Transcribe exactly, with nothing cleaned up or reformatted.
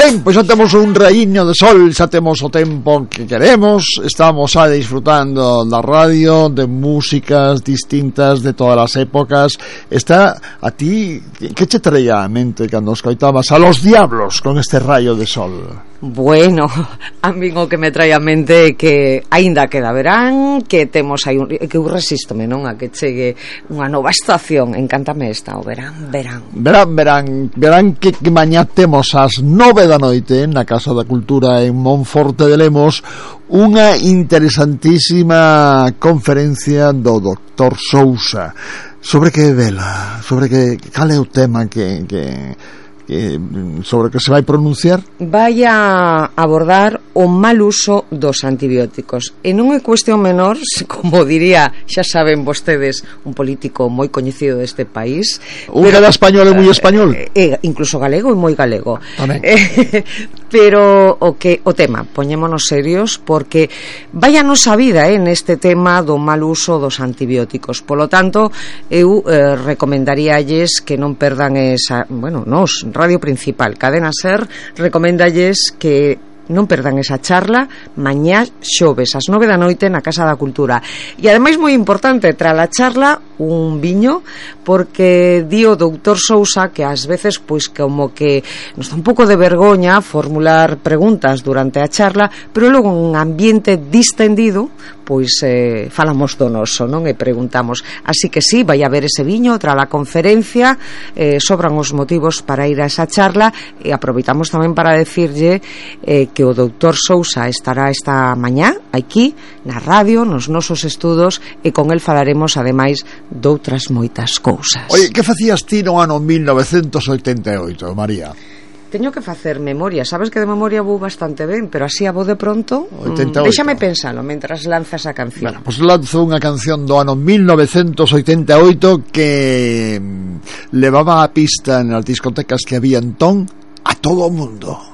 Ben, pois xa temos un raíño de sol, xa temos o tempo que queremos, estamos xa disfrutando da radio, de músicas distintas de todas as épocas. Está a ti, que che traía a mente cando escoitabas a Los Diablos con este rayo de sol? Bueno, a min o que me trae a mente é que aínda queda verán, que temos aí un, que eu resístome, non, a que chegue unha nova estación. Encántame esta, o verán, verán. Verán, verán, verán que, que mañá temos ás nove da noite na Casa da Cultura en Monforte de Lemos unha interesantísima conferencia do doctor Sousa. Sobre que vela, sobre que cal é o tema que... que Que, sobre que se vai pronunciar? Vai a abordar o mal uso dos antibióticos. E non é cuestión menor, como diría, xa saben vostedes, un político moi coñecido deste país. Un cada español é moi español. Eh, incluso galego e moi galego. Eh, pero o que o tema, poñémonos serios, porque vai a nosa vida eh, neste tema do mal uso dos antibióticos. Polo tanto, eu eh, recomendaríalles que non perdan esa, bueno, nos Radio Principal, Cadena Ser, recomendalles que non perdan esa charla mañá xoves ás nove da noite na Casa da Cultura. E ademais moi importante, tra la charla un viño, porque di o doutor Sousa que ás veces pois como que nos dá un pouco de vergoña formular preguntas durante a charla, pero logo en un ambiente distendido pois eh, falamos do noso, non? E preguntamos. Así que sí, vai haber ese viño tra la conferencia, eh, sobran os motivos para ir a esa charla, e aproveitamos tamén para decirlle eh, que o doutor Sousa estará esta mañá aquí na radio, nos nosos estudos, e con el falaremos ademais doutras moitas cousas. Oye, que facías ti no ano mil novecentos oitenta e oito, María? Teño que facer memoria, sabes que de memoria vou bastante ben, pero así a voz de pronto oitenta e oito. Mm, déxame pensalo mentras lanzas a canción. Bueno, pues lanzo unha canción do ano mil novecentos oitenta e oito que levaba a pista nas discotecas que había entón a todo o mundo.